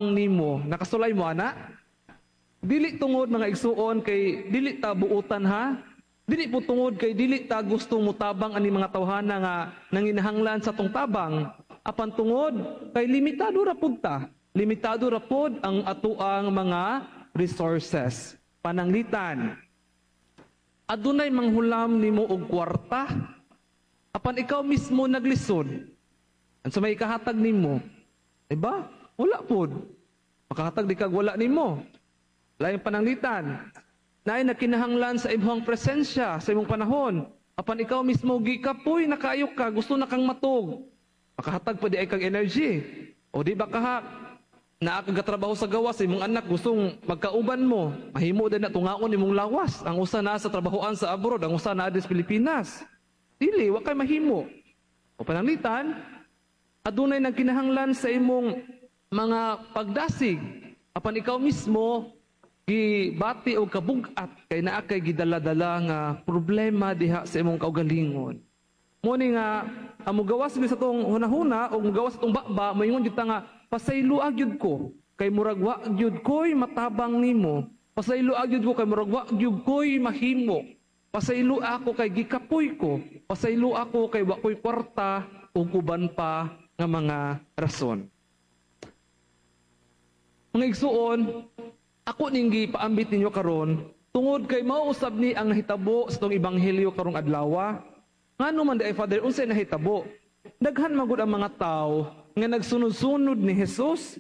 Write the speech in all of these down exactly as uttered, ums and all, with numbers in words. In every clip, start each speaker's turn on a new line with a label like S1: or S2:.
S1: Nimo? Nakasulay mo ana? Dili tungod, mga igsuon, kay dili ta buutan, ha. Dili po tungod kay dili ta gusto mutabang ani mga tawhana nga nanginahanglan sa tong tabang. Apan tungod kay limitado ra pud ta. Limitado ra pod ang atuang mga resources. Pananglitan, adunay manghulam nimo og kwarta, apan ikaw mismo naglisod. Unsa may ikahatag nimo? Diba? Wala pod. Makahatag di kag wala nimo. Laing pananglitan, naay nagkinahanglan sa imong presensya sa imong panahon. Apan ikaw mismo gikapoy na kaayo ka, gusto na kang matug. Makahatag pa diay kag energy. O di ba kaha, naa ka gatrabaho sa gawas, imong anak gustong magkauban mo. Mahimo din na tungaon imong lawas. Ang usa naa sa trabahoan sa abroad, ang usa naa sa Pilipinas. Dili, wa kay mahimo. O pananglitan, adunay nagkinahanglan sa imong mga pagdasig. Apan ikaw mismo gibati og kabug-at kay naa kay gidala-dala nga problema diha sa imong kaugalingon. Mo ni nga ang mugawas gyud sa tong hunahuna o mugawas sa tong baba, moingon gyud ta nga pasayloa gyud ko kay murag wa gyud koy matabang nimo. Pasayloa gyud ko kay murag wa gyud koy mahimo. Pasayloa ako kay gikapoy ko. Pasayloa ako kay wa koy kwarta ug uban pa nga mga rason. Mga igsuon, ako ning gipaambit ninyo karon tungod kay mao usab ni ang nahitabo sa tong ebanghelyo karong adlaw. Ngano man diay, Father, unsay nahitabo? Daghan man gud ang mga tawo nga nagsunod-sunod ni Jesus.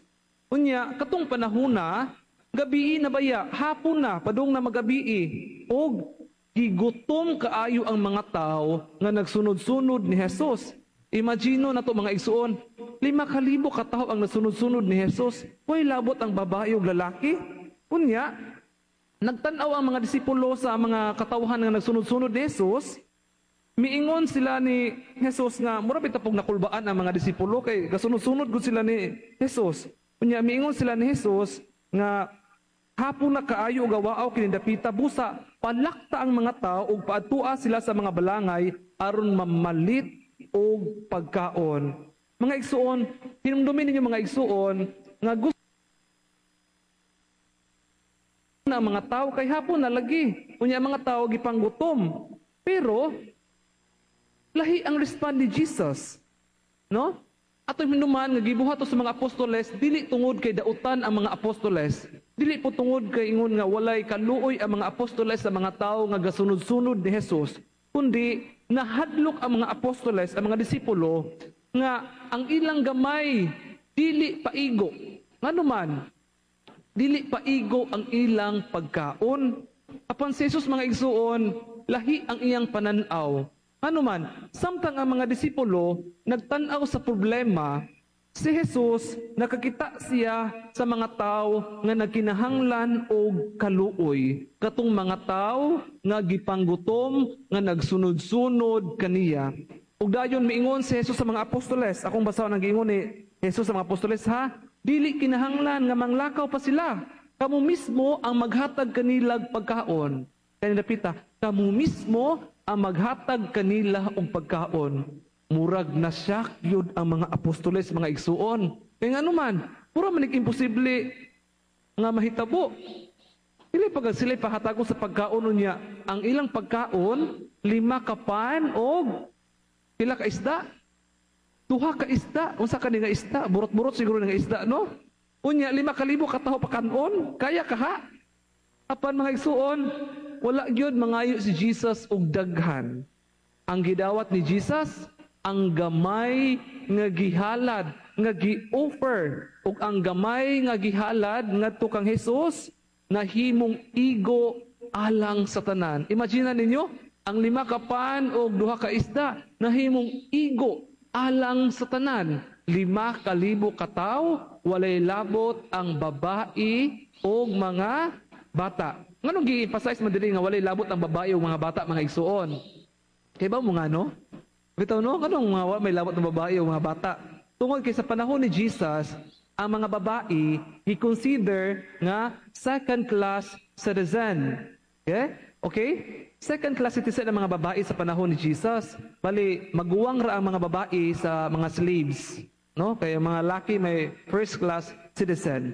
S1: Unya katong panahona, gabii na baya, hapon na, padung na magabii. Og gigutom kaayo ang mga tawo nga nagsunod-sunod ni Jesus. Imagine na to, mga igsuon, lima kalibo ka tawo ang nasunod-sunod ni Jesus. Way labot ang babae ug lalaki. Unya, nagtan-aw ang mga disipulo sa mga katawhan nga nagsunod-sunod ni Jesus. Miingon sila ni Jesus nga mura bitaw pog nakulbaan ang mga disipulo kay gasunod-sunod gud sila ni Jesus. Unya miingon sila ni Jesus nga hapon na kaayo ug gawaaw kini dapita, busa palakta ang mga tao ug paadtua sila sa mga balangay aron mamalit og pagkaon. Mga igsuon, hinumdumin ninyo, mga igsuon, nga gusto na ang mga tao kay hapon na lagi. Unya ang mga tao gipanggutom. Pero lahi ang respond ni Jesus. No? Ato hinuman nga gibuhat to sa mga apostoles dili tungod kay dautan ang mga apostoles. Dili po tungod kay ingon nga walay kaluoy ang mga apostoles sa mga tao nga gasunod-sunod ni Jesus, kundi nahadlok ang mga apostoles, ang mga disipulo, nga ang ilang gamay dili paigo. Ngano man, dili paigo ang ilang pagkaon. Apan si Jesus, mga igsuon, lahi ang iyang pananaw. Ano man, samtang ang mga disipulo nagtan-aw sa problema, si Jesus nakakita siya sa mga tao nga nagkinahanglan og kaluoy. Katong mga tao nga gipanggutom, nga nagsunod-sunod kaniya. Ug dayon miingon si Jesus sa mga apostoles. Akong basahon ang giingon ni Jesus sa mga apostoles, ha. Dili kinahanglan nga manglakaw pa sila. Kamo mismo ang maghatag kanilag pagkaon. Kani dapita, kamo mismo ang maghatag kanila og pagkaon. Murag na shock yun ang mga apostoles, mga igsuon. Kaya nga naman, pura man imposible nga mahitabo. Dili pag sila pahatagon sa pagkaon niya, ang ilang pagkaon, lima ka pan og pila ka isda? Duha ka isda. Unsa kani nga isda? Burot-burot siguro nga isda, no? Unya, lima ka libo kataho pakanon. Kaya ka ha? Apan, mga igsuon, wala gyud mangayo si Jesus og daghan. Ang gidawat ni Jesus, ang gamay nga gihalad, nga gi-offer, ug ang gamay nga gihalad ngadto kang Jesus nahimong igo alang sa tanan. Imagine ninyo, ang lima ka pan og duha ka isda nahimong igo alang sa tanan. Lima ka libo ka tawo, walay labot ang babae og mga bata. Nganong gi-emphasize man diri nga walay labot ang babae ug mga bata, mga igsuon? Kay ba mo nga no? Bitaw no, nganong nga may labot ang babae ug mga bata? Tungod kay sa panahon ni Jesus, ang mga babae gi-consider nga second class citizen. Okay? Okay? Second class citizen ang mga babae sa panahon ni Jesus. Bali, maguwang ra ang mga babae sa mga slaves, no? Kaya mga laki may first class citizen.